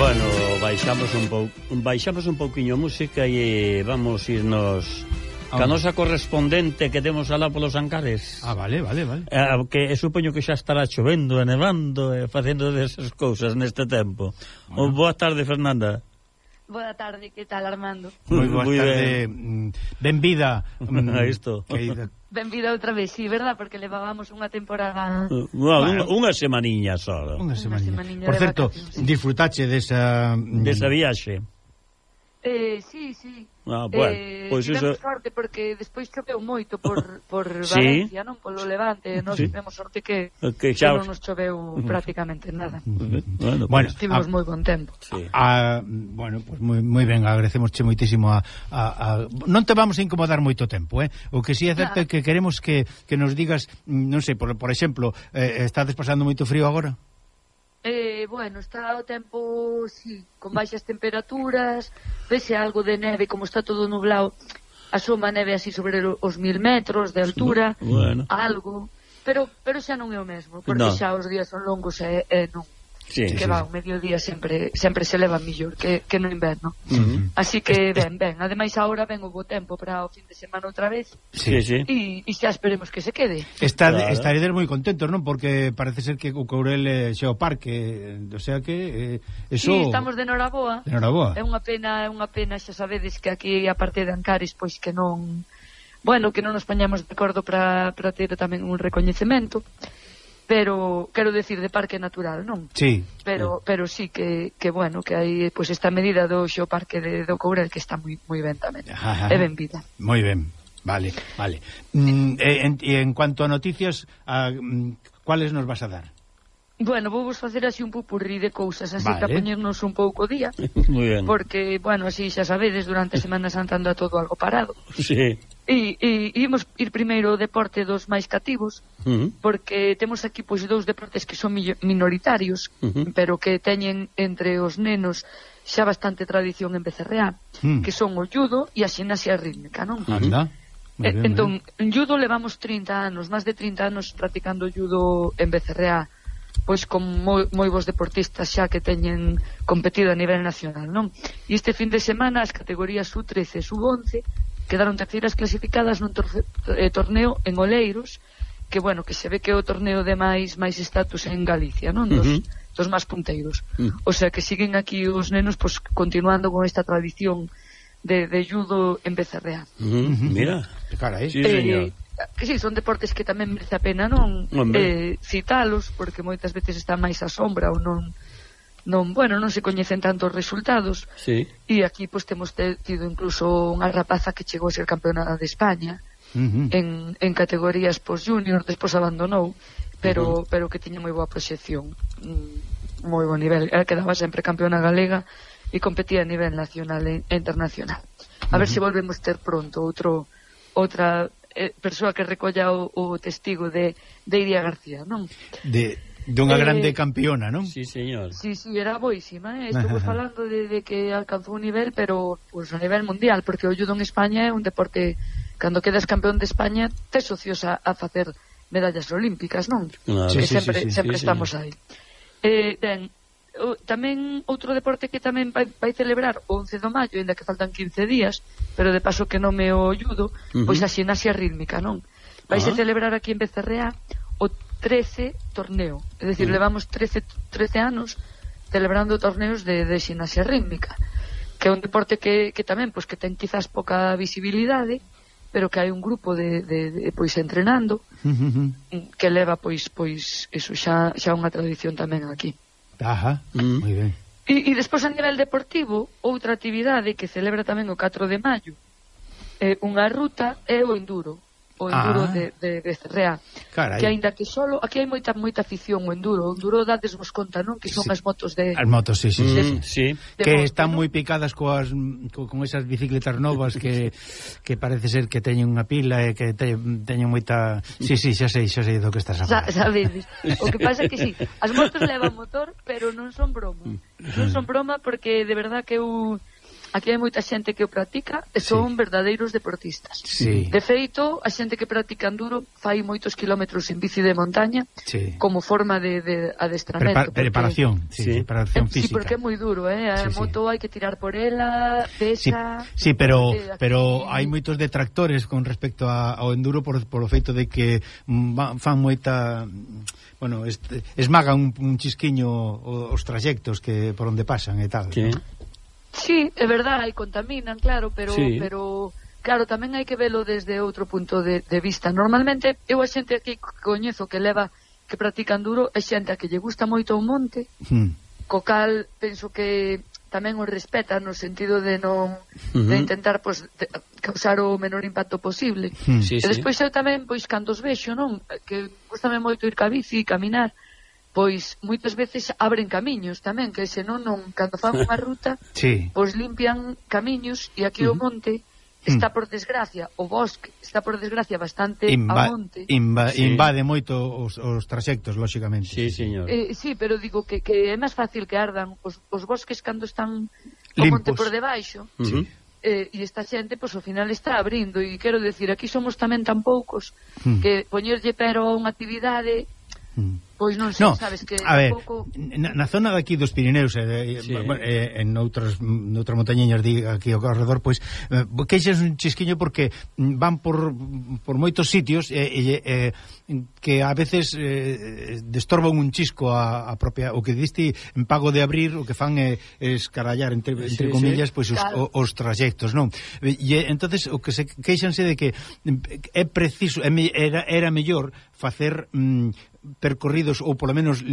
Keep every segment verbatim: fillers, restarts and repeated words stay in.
Bueno, baixamos un pouco, baixamos un pouquiño música e vamos irnos ca nosa correspondente que temos alá polos Ancares. Ah, vale, vale, vale. Eh, que supoño que xa estará chovendo e nevando e facendo desas cousas neste tempo. Bueno. Boa tarde, Fernanda. Boa tarde, que tal, Armando? Moi boa tarde, benvida. A isto. Benvida outra vez, sí, verdad? Porque levábamos unha temporada... Uh, bueno, unha semaniña só. Unha semaniña. Por certo, disfrutache desa... Desa viaxe. Eh, sí, sí. Ah, bueno, eh, pois pues tivemos iso... sorte porque despois choveu moito por, por ¿Sí? Valencia, non? Polo Levante, nós sí. tivemos sorte que, que, xa... que non nos choveu prácticamente nada. Bueno, bueno, pues, tivemos a... moi bon tempo. Sí. A, bueno, pues moi, moi ben, agradecemosche moitísimo a, a, a... Non te vamos a incomodar moito tempo, eh? O que si é certo é que queremos que, que nos digas, non sei, por, por exemplo, eh, estades pasando moito frío agora? Eh, bueno, está o tempo, sí, con baixas temperaturas, vese algo de neve, como está todo nublado, asoma neve así sobre os mil metros de altura, bueno. algo, pero pero xa non é o mesmo, porque no. xa os días son longos e, e non. Sí, que sí, va, sí. o mediodía sempre sempre se leva mellor que, que no inverno. Uh-huh. Así que ben, ben, ademais agora ven o bo tempo para o fin de semana outra vez. Sí, sí. E, e xa esperemos que se quede. Está, claro. Estaredes moi contentos, non? Porque parece ser que o Courel é o parque, o sea que eh, eso... Sí, estamos de noraboa. De noraboa. É unha pena, é unha pena, xa sabedes que aquí a parte de Ancares pois que non, bueno, que non nos poñamos de acordo para para ter tamén un recoñecemento. Pero quero decir de parque natural, non? Sí. Pero pero sí que que bueno, que hai pois pues, esta medida do xeoparque de do Courel que está moi moi ben tamén. É ben vida. Moi ben. Vale, vale. Mm, e, en, e en cuanto a noticias, a, mm, cuáles nos vas a dar? Bueno, vou vos facer así un pupurrí de cousas, así vale. para poñernos un pouco día. Moi ben. Porque, bueno, así xa sabedes, durante a Semana Santa anda todo algo parado. Sí. E, e imos ir primeiro ao deporte dos máis cativos, uh-huh. porque temos aquí pois dous deportes que son minoritarios, uh-huh. pero que teñen entre os nenos xa bastante tradición en Becerreá, uh-huh. que son o judo e a ximnasia rítmica, non? Anda. Eh, entón, en judo levamos trinta anos, máis de trinta anos practicando judo en Becerreá, pois con moi, moi bons deportistas xa que teñen competido a nivel nacional, non? E este fin de semana as categorías U trece e U once quedaron terceiras clasificadas nun torce, eh, torneo en Oleiros, que bueno, que se ve que é o torneo de máis máis estatus en Galicia, non? Dos, uh-huh. dos máis punteiros. Uh-huh. O sea, que siguen aquí os nenos pues, continuando con esta tradición de, de judo en Becerreá. Uh-huh. Mira, carai. Sí, señor. Eh, que sí, son deportes que tamén merece a pena non eh, citalos, porque moitas veces están máis a sombra ou non non, bueno, non se coñecen tanto os resultados. Sí. E aquí pois temos tido incluso unha rapaza que chegou a ser campeona de España uh-huh. en, en categorías pois junior, despois abandonou, pero uh-huh. pero que tiña moi boa proxección, mm, moi bo nivel. Ela quedaba sempre campeona galega e competía a nivel nacional e internacional. A uh-huh. ver se volvemos ter pronto outro outra eh, persoa que recolla o, o testigo de, de Iria García, non? De dunha eh, grande campeona, non? Sí, señor. Sí, sí, era boísima, eh? Estuvo falando de, de que alcanzou un nivel, pero pues, a nivel mundial, porque o judo en España é un deporte, cando quedas campeón de España, tes socios a, a facer medallas olímpicas, non? Claro. Que Sí, sí, sempre, sí, sí, sempre sí, estamos señor. aí. Eh, ben, o, tamén outro deporte que tamén vai, vai celebrar o once de maio, ainda que faltan quince días, pero de paso que nome o judo, uh-huh. pois a ximnasia rítmica, non? Vai uh-huh. se celebrar aquí en Becerreá o trece torneo, é dicir, uh-huh. levamos trece, trece anos celebrando torneos de, de ximnasia rítmica, que é un deporte que, que tamén pois, que ten quizás pouca visibilidade, pero que hai un grupo de, de, de pois entrenando uh-huh. que leva pois pois eso xa xa unha tradición tamén aquí. Ajá, uh-huh. moi ben. E, e despois a nivel deportivo, outra actividade que celebra tamén o catro de maio, é unha ruta é o enduro. O enduro ah. de, de Becerreá. Carai. Que aínda que solo, aquí hai moita moita afición o enduro. O enduro dades vos conta, non? Que son sí. as motos de... As motos, sí, sí. Mm, sí. sí. De que moto, están ¿no? moi picadas coas co, con esas bicicletas novas que, que parece ser que teñen unha pila e que te, teñen moita... Sí, sí, xa sei, xa sei do que estás a falar. Sa, sabedes. O que pasa é que sí, as motos levan motor, pero non son broma. Non son broma porque de verdad que eu aquí hai moita xente que o practica e son sí. verdadeiros deportistas. Sí. De feito, a xente que practica enduro fai moitos kilómetros en bici de montaña sí. como forma de, de adestramento. Prepa preparación, porque, sí, sí. preparación física. Sí, porque é moi duro, eh? A sí, moto sí. hai que tirar por ela, pesa... Sí, sí pero, eh, pero hai moitos detractores con respecto a, ao enduro por, por o feito de que mm, fan moita... Bueno, este, esmagan un, un chisquiño os trayectos que por onde pasan e tal. Sí. ¿no? Sí, é verdade, e contaminan, claro, pero sí. pero claro, tamén hai que velo desde outro punto de, de vista. Normalmente, eu a xente aquí que coñezo que leva, que practica enduro, é xente a que lle gusta moito o monte, hmm. co cal penso que tamén o respeta no sentido de non uh-huh. de intentar pues, de, causar o menor impacto posible. Hmm. Sí, e despois sí. eu tamén, pois, cando os vexo, non? Que gustame moito ir ca bici, caminar, pois moitas veces abren camiños tamén, que senón non, cando fan unha ruta sí. pois limpian camiños e aquí uh -huh. o monte está por desgracia, o bosque está por desgracia bastante Inva a monte inva sí. invade moito os, os trayectos, lóxicamente. Sí, señor. Eh, sí, pero digo que, que é máis fácil que ardan os, os bosques cando están o monte por debaixo uh -huh. eh, e esta xente, pois ao final está abrindo, e quero decir, aquí somos tamén tan poucos uh -huh. que poñerlle pero a unha actividade pois non sei, no, sabes que a ver, pouco... na, na zona de aquí dos Pirineos eh, sí. eh, en outras noutras montañeñas de aquí ao redor, pois eh, queixas un chisquiño porque van por, por moitos sitios e eh, eh, que a veces eh, destorban un chisco a, a propia, o que diste en pago de abrir, o que fan é eh, escarallar entre, entre sí, comillas, sí. pois os, claro. os, os trayectos, non? E entonces o que se queixanse de que é preciso, era, era mellor facer mm, percorridos ou polo menos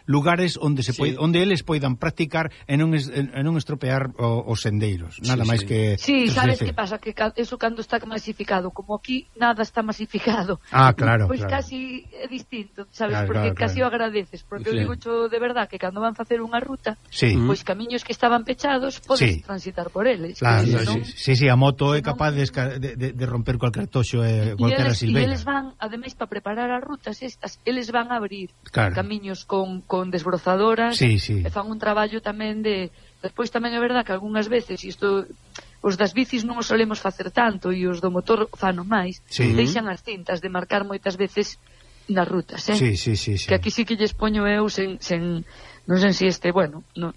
lugares onde se sí. poi, onde eles poidan practicar e non, es, e non estropear o, os sendeiros, nada sí, máis sí. que... Sí, sabes que pasa? Que eso cando está masificado, como aquí nada está masificado, ah, claro, pois claro. casi é distinto, sabes? Claro, porque claro, casi claro. o agradeces, porque sí. eu digo cho de verdad que cando van facer unha ruta, sí. pois camiños que estaban pechados podes sí. transitar por eles. Claro, no, sí, sí, sí, a moto é capaz de, de, de romper cualquier toxo e cualquier silveira. E eles van, ademais, para preparar as rutas estas, eles van a abrir claro. camiños con, con desbrozadoras sí, sí. e fan un traballo tamén de... Despois tamén é verdad que algunhas veces isto, os das bicis non os solemos facer tanto e os do motor fano máis sí. deixan as cintas de marcar moitas veces nas rutas, eh? Sí, sí, sí, sí. Que aquí sí que lles poño eu sen, sen non sei se este, bueno no,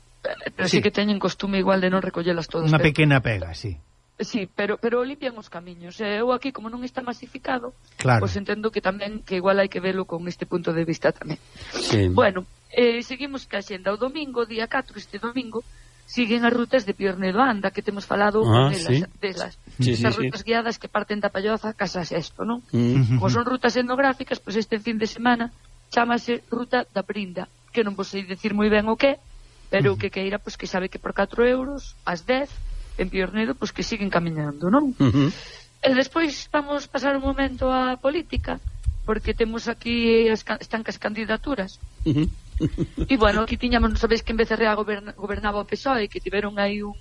pero sí. sí que teñen costume igual de non recollelas todas. Unha pequena pega, sí. Sí, pero pero limpian os camiños. E eu aquí, como non está masificado, claro. pois entendo que tamén que igual hai que velo con este punto de vista tamén. Sí. Bueno, eh, seguimos ca xenda. O domingo, día catro, este domingo, siguen as rutas de Piornedo Anda, que temos falado ah, delas, sí. delas. Sí, Esas sí, rutas sí. guiadas que parten da Palloza casa Sesto, non? Mm. Como son rutas etnográficas, pois este fin de semana chámase Ruta da Prinda, que non vos sei decir moi ben o que, pero o que queira, pois que sabe que por catro euros, ás dez, en Piornedo, pois que siguen camiñando, non? Uh -huh. E despois vamos pasar un momento á política, porque temos aquí as, están as candidaturas. Uh -huh. E bueno, aquí tiñamos, non sabéis que en Becerrea goberna, gobernaba o P S O E, que tiveron aí un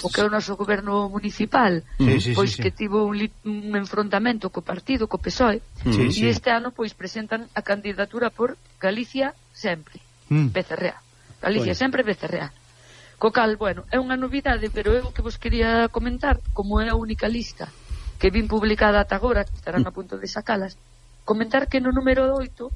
o que é o noso goberno municipal, sí, sí, pois sí, que sí. tivo un, un enfrontamento co partido, co P S O E, sí, e sí. este ano pois presentan a candidatura por Galicia Sempre, mm. Becerrea. Galicia bueno. Sempre, Becerrea. Co cal, bueno, é unha novidade, pero eu que vos quería comentar, como é a única lista que vin publicada ata agora, que estarán a punto de sacalas, comentar que no número oito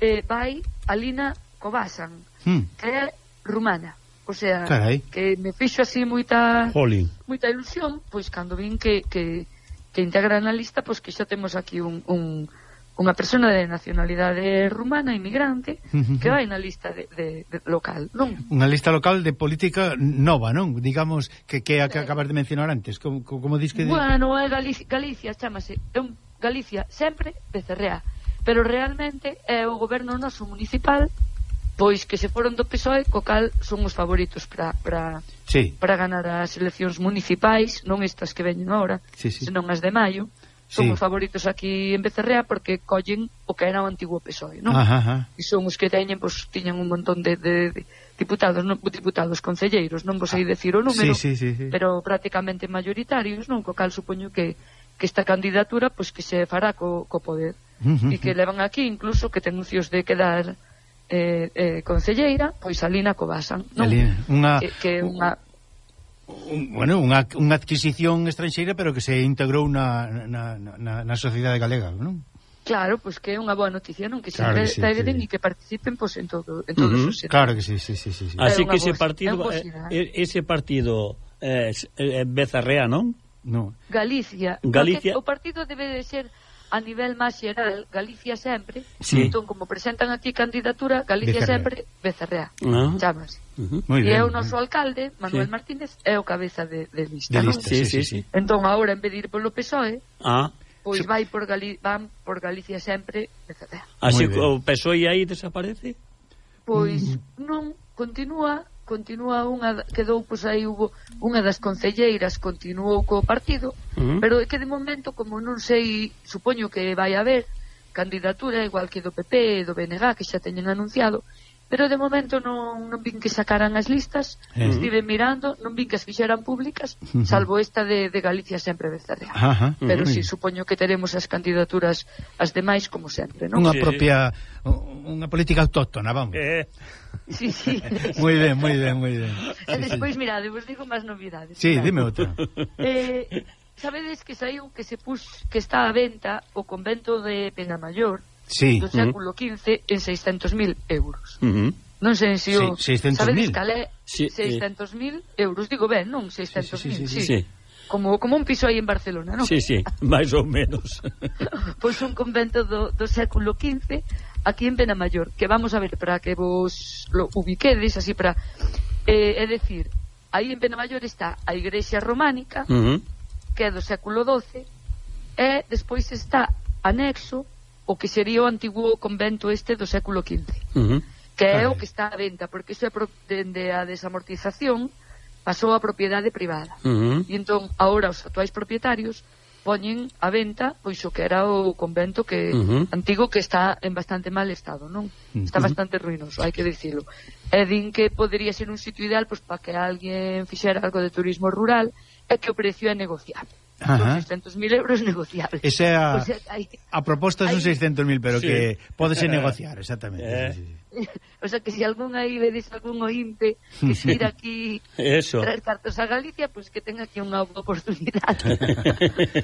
eh, vai Alina Cobasan, mm. que é rumana. O sea, carai. Que me fixo así moita Jolín. moita ilusión, pois cando vin que, que, que integran na lista, pois que xa temos aquí un... un unha persona de nacionalidade rumana, inmigrante, uh-huh. que vai na lista de, de, de local, non? Unha lista local de política nova, non? Digamos, que que a que acabas de mencionar antes, como, como dis que... De... Bueno, é Galicia, Galicia chámase, é un Galicia Sempre Becerrea, pero realmente é o goberno noso municipal, pois que se foron do P S O E, co cal son os favoritos para para sí. para ganar as eleccións municipais, non estas que veñen agora, sí, sí. senón as de maio. Son sí. os favoritos aquí en Becerrea porque collen o que era o antigo P S O E, non? Ajá, ajá. E son os que teñen, pois, tiñan un montón de, de, de diputados, non, diputados concelleiros, non vos sei decir o número, sí, sí, sí, sí. pero prácticamente mayoritarios, non? Co cal supoño que, que esta candidatura, pois, que se fará co, co poder. Uh -huh. E que levan aquí, incluso, que ten uncios de quedar eh, eh, concelleira, pois Alina Cobasan, non? Alina, unha... Que, que unha... un, bueno, unha, unha adquisición estranxeira, pero que se integrou na, na, na, na sociedade galega, non? Claro, pois pues que é unha boa noticia, non? Que claro sempre que sí, traeren sí. e que participen pois, en, todo, en todos uh -huh. os sentidos. Claro que sí, sí, sí, sí, sí. Así que ese voz, partido eh, ese partido eh, eh, Bezarrea, non? No. Galicia. Galicia. O partido debe de ser a nivel máis xeral, Galicia sempre, sí. Entón, como presentan aquí candidatura, Galicia sempre, Bezarrea, ah. chamase. Uh -huh. E é o noso alcalde, Manuel sí. Martínez, é o cabeza de, de lista, de non? lista sí, sí, sí. Entón, agora, en vez de ir polo P S O E, ah. pois vai por Gali van por Galicia sempre, Bezarrea. Así que o P S O E aí desaparece? Pois mm. non, continúa... continúa unha, quedou, pois aí hubo unha das concelleiras continuou co partido, uh -huh. pero é que de momento, como non sei, supoño que vai haber candidatura igual que do P P e do B N G, que xa teñen anunciado, pero de momento non, non vin que sacaran as listas, uh -huh. estive mirando, non vin que as fixeran públicas, uh -huh. salvo esta de, de Galicia sempre Bezarrea. Uh -huh. Pero uh -huh. si, sí, supoño que teremos as candidaturas as demais como sempre, non? Unha sí. propia, unha política autóctona, vamos. Eh. Sí, sí. Moi ben, moi ben, moi ben. E sí, despois, sí. mirade, vos digo máis novidades. Sí, mirade. dime outra. Eh, sabedes que saiu que se pus, que está a venta o convento de Penamayor sí. do século quince en seiscentos mil euros. Uh -huh. Non sei se o... Sí, seiscentos mil. Sabedes cal é? Sí, seiscentos mil euros, digo ben, non? seiscentos mil, sí, sí, sí, sí. sí. Como, como un piso aí en Barcelona, non? Sí, sí, máis ou menos. Pois un convento do, do século quince aquí en Penamayor, que vamos a ver para que vos lo ubiquedes, así para... Eh, é decir, aí en Penamayor está a igrexa románica, uh -huh. que é do século doce, e despois está anexo o que sería o antigo convento este do século quince, uh -huh. que é o que está a venta, porque iso é pro, dende a desamortización pasou a propiedade privada. Uh -huh. E entón, agora os actuais propietarios poñen a venta pois o que era o convento que uh -huh. antigo, que está en bastante mal estado, non? Está uh -huh. bastante ruinoso, hai que dicilo. E din que podería ser un sitio ideal pois para que alguén fixera algo de turismo rural, e que o precio é negociable. Son seiscentos mil euros negociables. Esa é a, o sea, hay, a proposta son seiscentos mil, pero sí. que podese negociar, exactamente. Eh. Sí, sí. O sea, que se si algún aí vedes algún ointe que se ir aquí Eso. traer cartos a Galicia, pois pues que ten aquí unha oportunidade.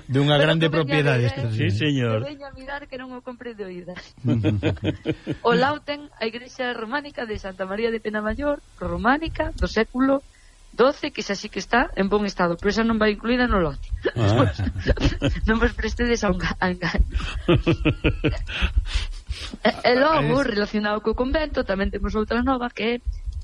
De unha grande propiedade. Sí, señor. Que veña a mirar que non o compre de oídas. O lado ten a igrexa románica de Santa María de Penamayor, románica, do século doce, que xa sí que está en bon estado, pero esa non vai incluída no lote. Ah. Non vos prestedes a un engaño. E, e logo, relacionado co convento, tamén temos outra nova, que é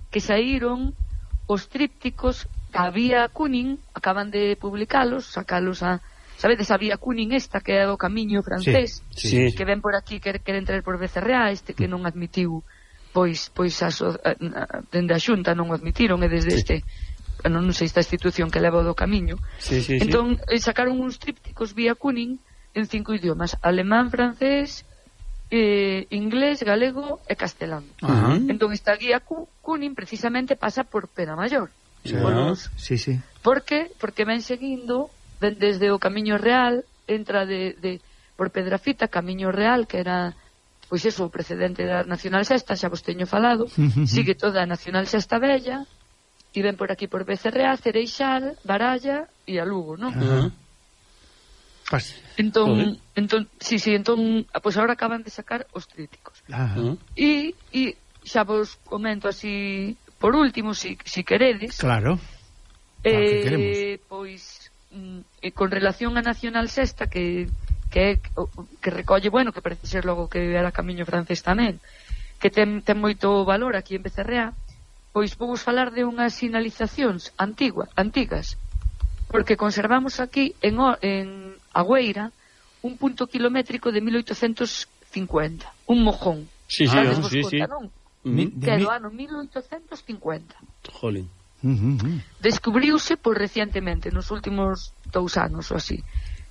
que saíron os trípticos que a Vía Cúnin, acaban de publicalos, sacalos a... Sabedes, a Vía Cúnin esta, que é o camiño francés, sí, sí. que ven por aquí, que queren traer por Becerrea, este que non admitiu, pois, pois a, a, a, dende a Xunta non o admitiron, e desde sí. este... non, non sei esta institución que leva do camiño. Sí, sí, entón, sí. sacaron uns trípticos Vía Cúnin en cinco idiomas: alemán, francés, eh, inglés, galego e castelán. Uh -huh. Entón, esta guía Cúnin precisamente pasa por Penamayor. Sí, los... sí, sí. Por que? Porque ven seguindo desde o Camiño Real, entra de, de por Pedrafita, Camiño Real, que era pois eso, o precedente da Nacional Sexta, xa vos teño falado, sigue toda a Nacional Sexta Bella, e ven por aquí por Becerrea, Cereixal, Baralla e a Lugo, non? Uh -huh. Entón, entón, sí, sí, entón, pois agora acaban de sacar os trípticos. Uh -huh. E, e xa vos comento así, por último, si, si queredes. Claro. Eh, que pois, mm, con relación a Nacional Sexta, que que que recolle, bueno, que parece ser logo que era camiño francés tamén, que ten, ten moito valor aquí en Becerrea. Pois vamos falar de unhas sinalizacións antigua, antigas, porque conservamos aquí en, en Agüeira un punto kilométrico de mil oitocentos cincuenta, un mojón. Sí, sí, ah, sí, sí, sí. Non? Mm. Que é do ano mil oitocentos cincuenta. Jolín. Uh -huh. Descubriuse por recientemente, nos últimos dous anos ou así.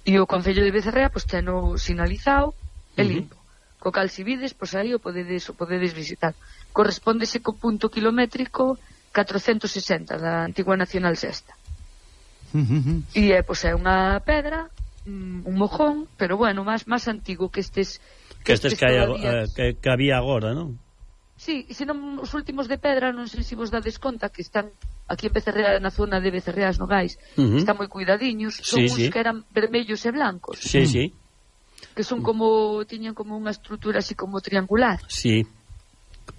E o Concello de Becerrea pois teno sinalizado e limpo. Uh -huh. Co cal, si vides, pois aí o podedes, o podedes visitar. Correspóndese co punto kilométrico catrocentos sesenta da antigua Nacional Sexta. Uh -huh. E é, pois, é unha pedra, un mojón, pero bueno, máis máis antigo que estes que estes que, hai, uh, que, que había agora, non? Sí, senón os últimos de pedra, non sei se vos dades conta que están aquí en Becerrea, na zona de Becerreas Nogais, uh -huh. están moi cuidadiños, son sí, uns sí. que eran vermellos e blancos. Sí, sí. Que son como, tiñan como unha estrutura así como triangular. Sí.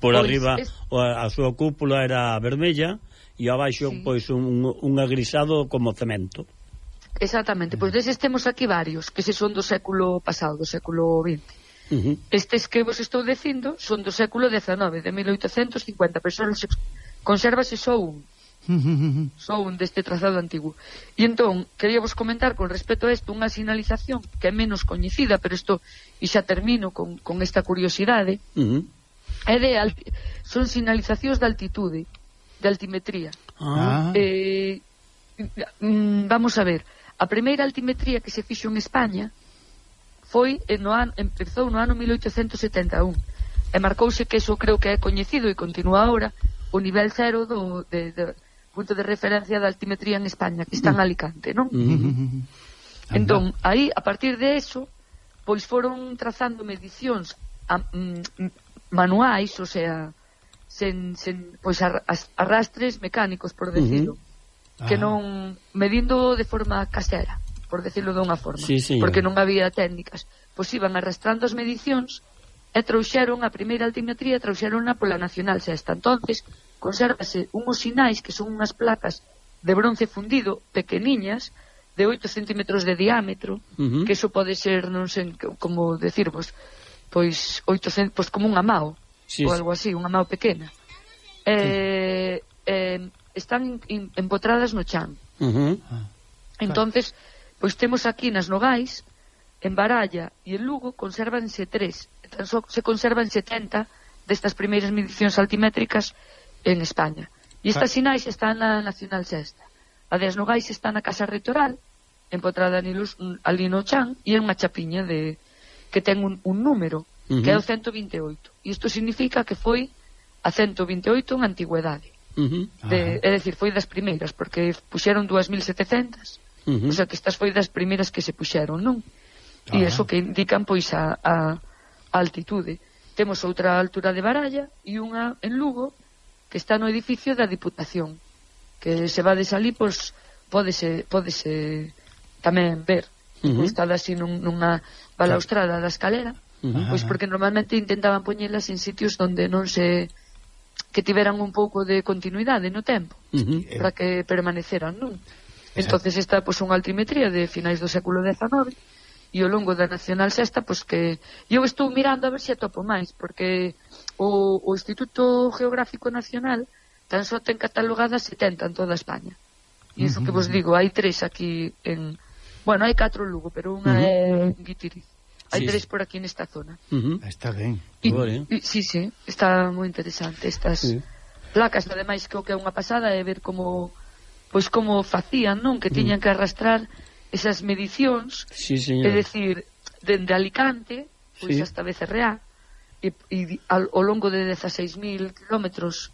Por pois arriba es... a súa cúpula era vermella e abaixo sí. pois un, un agrisado como cemento. Exactamente, pois deses temos aquí varios, que se son do século pasado, do século vinte. Uh -huh. Estes que vos estou dicindo son do século dezenove, de mil oitocentos cincuenta, pero son, consérvase só un só un deste trazado antigo. E entón, quería vos comentar con respecto a isto unha sinalización que é menos coñecida, pero isto, e xa termino con, con esta curiosidade. uh -huh. É de alti... son sinalizacións de altitude, de altimetría. ah. eh, vamos a ver, a primeira altimetría que se fixo en España foi no ano, empezou no ano mil oitocentos setenta e un e marcouse que eso creo que é coñecido e continúa ahora o nivel cero do de, de, punto de referencia da altimetría en España, que está en Alicante, non? Uh-huh. Entón, aí, a partir de eso, pois foron trazando medicións a, mm, manuais, o sea, sen, sen pois arrastres mecánicos, por decirlo, uh-huh. que non medindo de forma casera, por decirlo de unha forma, sí, porque non había técnicas, pois iban arrastrando as medicións e trouxeron a primeira altimetría, trouxeronha pola Nacional Sexta. Entonces, consérvase unhos sinais que son unhas placas de bronce fundido, pequeniñas, de oito centímetros de diámetro, uh-huh. que eso pode ser, non sei como decirvos, pois oito centímetros, pois como unha mao, sí, ou algo así, unha mao pequena. Sí. Eh, eh, están in, empotradas no chan. Uh-huh. Entonces, pois temos aquí nas Nogais, en Baralla e en Lugo, consérvanse tres. Tan só se conservan setenta destas primeiras medicións altimétricas en España. E estas sinais están na Nacional Sexta. A das Nogais está na Casa Reitoral, empotrada ali no chan, e é unha chapiña de que ten un, un número, uh-huh. que é o ciento vinte e oito. E isto significa que foi a ciento vinte e oito en antigüedade. Uh-huh. de, é dicir, foi das primeiras, porque puxeron dúas mil setecentas, uh-huh. o sea que estas foi das primeiras que se puxeron, non? E uh-huh. eso que indican, pois, a, a, a altitude. Temos outra altura de Baralla e unha en Lugo, que está no edificio da Diputación, que se va de salí, pois, pódese, pódese tamén ver. Uh-huh. Está así nun, nunha balaustrada da escalera, uh-huh. pois porque normalmente intentaban poñelas en sitios onde non se... que tiveran un pouco de continuidade no tempo, uh-huh. para que permaneceran, non? Entonces esta, pois, unha altimetría de finais do século dezenove, e ao longo da Nacional Sexta, pois que eu estou mirando a ver se atopo máis, porque o, o Instituto Geográfico Nacional tan só ten catalogadas setenta en toda España. E iso que vos digo, hai tres aquí en... Bueno, hai catro en Lugo, pero unha uh-huh. é en Guitiriz. Hai sí, tres por aquí nesta zona. Uh-huh. Está ben. E, e, sí, sí, está moi interesante estas sí. placas, ademais que o que é unha pasada é ver como pois como facían, non? Que tiñan que arrastrar esas medicións, sí, é dicir, dende Alicante pois sí. hasta Becerreá, e, e ao, ao longo de dezaseis mil kilómetros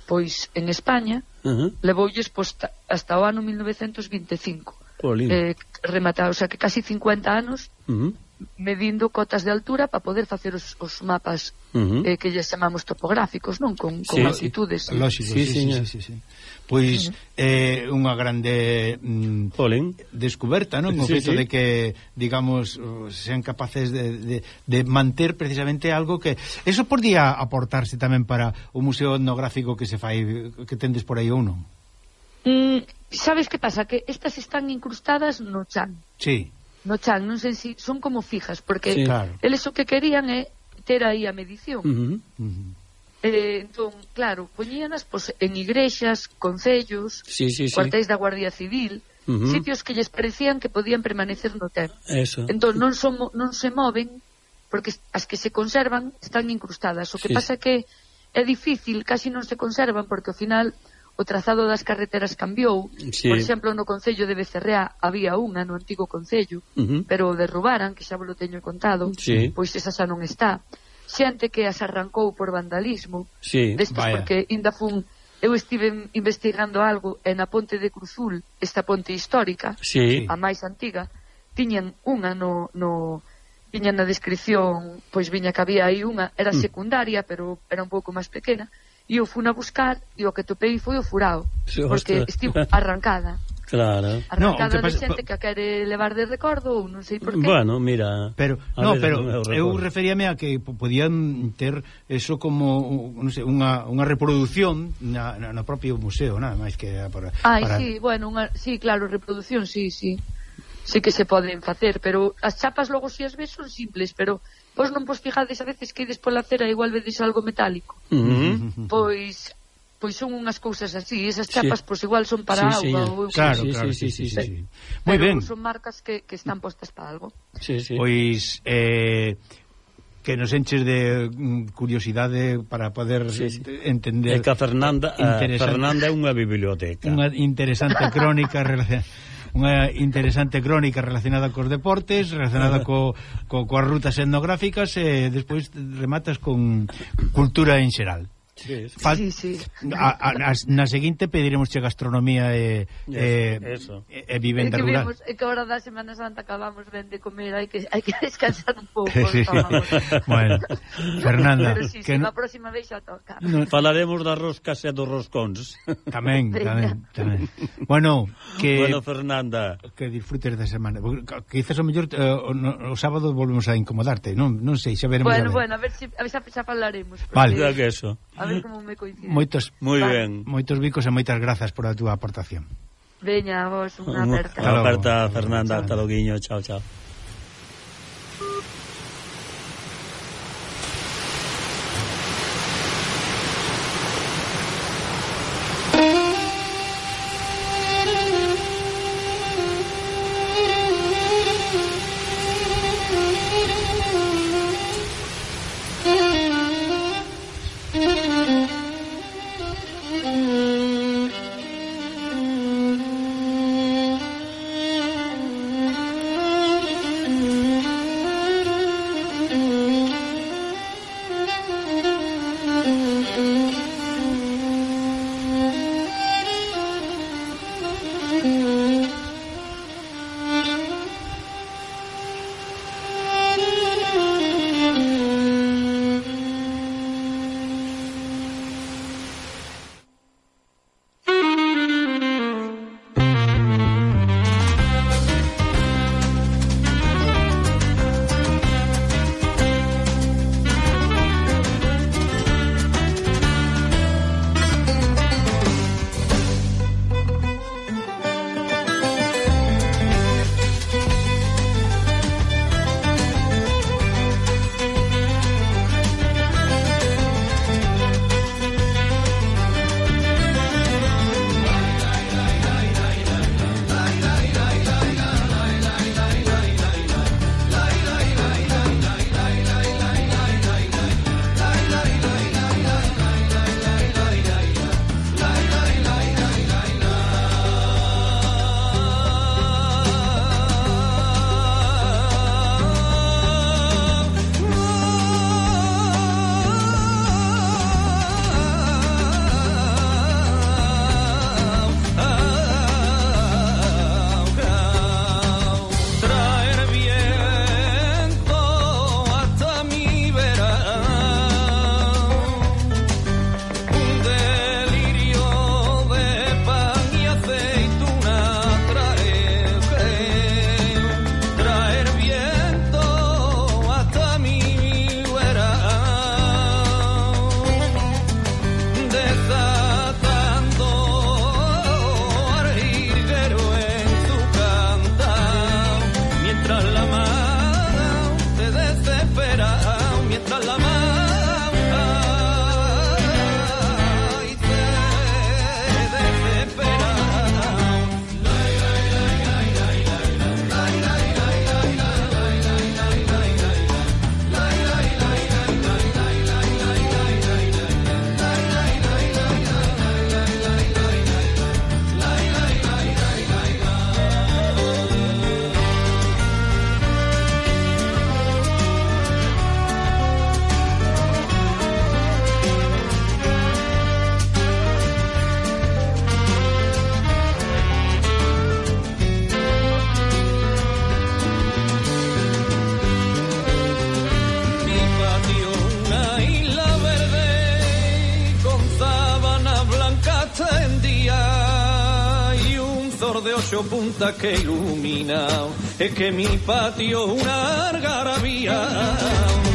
pois en España, uh-huh. levoulles pois, hasta o ano mil novecentos vinte e cinco, eh, rematado, o sea que casi cincuenta anos uh-huh. medindo cotas de altura para poder facer os, os mapas uh-huh. eh, que lles chamamos topográficos, non? Con, con sí, altitudes. Sí. Lógico, sí, sí, sí, sí, sí, sí. Pois uh-huh. é eh, unha grande mm, descoberta, non? O sí, feito sí. de que, digamos, sean capaces de, de, de manter precisamente algo que... Eso podía aportarse tamén para o museo etnográfico que se fai, que tendes por aí ou non? Mm, sabes que pasa? Que estas están incrustadas no chan. Sí. No chan, non sei se si son como fijas, porque sí, claro. eles o que querían é ter aí a medición. Uh-huh. Uh-huh. Eh, entón, claro, poñíanas pois, en igrexas, concellos, sí, sí, cuartéis sí. da Guardia Civil, uh-huh. sitios que lles parecían que podían permanecer no tempo. Eso. Entón, non, son, non se moven, porque as que se conservan están incrustadas. O que sí. pasa que é difícil, casi non se conservan, porque ao final... o trazado das carreteras cambiou, sí. por exemplo no concello de Becerrea había unha no antigo concello, uh-huh. pero o derrubaran, que xa vos lo teño contado, sí. pois esa xa non está. Xente que as arrancou por vandalismo, sí, destes vaya. Porque ainda fun, eu estive investigando algo e na ponte de Cruzul, esta ponte histórica, sí. a máis antiga, tiñan unha no, no viña na descripción, pois viña que había aí unha, era secundaria, pero era un pouco máis pequena, e eu fui a buscar, e o que topei foi o furado, Sí, porque ostras. estivo arrancada. Claro. Arrancada No, de pasa- xente que a quere levar de recordo, ou non sei por qué. Bueno, mira. Pero, a no, veces pero non é o eu recordo. referíame a que po- podían ter eso como, non sei, unha, unha reproducción na, na, no propio museo, nada máis que para... Ai, para... sí, bueno, unha, sí, claro, reproducción, sí, sí. Sí que se poden facer, pero as chapas logo si as ves son simples, pero vos non vos fijades a veces que ides pola cera igual vedes algo metálico. Uh -huh. Pois pois son unhas cousas así, esas Sí. chapas pois igual son para Sí, auga señor. ou Claro, Sí, claro, sí, sí, sí, sí, sí, sí. sí. Moi pero ben. son marcas que, que están postas para algo. Sí, sí. Pois eh, que nos enches de mm, curiosidade para poder Sí, sí. entender. É que a Fernanda, a Interesante. Fernanda é unha biblioteca. Unha interesante crónica relacionada unha interesante crónica relacionada cos deportes, relacionada co, co, coas rutas etnográficas e despois rematas con cultura en xeral. Sí, sí. Fal... Sí, sí. A, a, na, na seguinte pediremos che gastronomía e, e, Eso, eso. e, e É vivenda que rural. vemos, é que ahora da Semana Santa acabamos ben de comer, hai que hai que descansar un pouco. Sí, sí. Bueno, Fernanda, Pero sí, que sí, no, a próxima vez xa toca. no, Falaremos das roscas e dos roscóns. tamén, tamén, tamén. Bueno, que Bueno, Fernanda. que disfrutes da semana. Quizás o mellor eh, o, no, o sábado volvemos a incomodarte, non non sei, xa veremos. Bueno, a ver. bueno, a ver se si, a ver, xa, xa falaremos. porque- Vale. Mira que eso. A ver como me coincide. Moitos Moi Vale. ben. moitos bicos e moitas grazas por a túa aportación. Veña, vos, unha Unha aperta. Hasta logo. aperta, Fernanda. Chao. Hasta loguiño. Chao, chao. de ocho puntas que ilumina, es que mi patio una algarabía.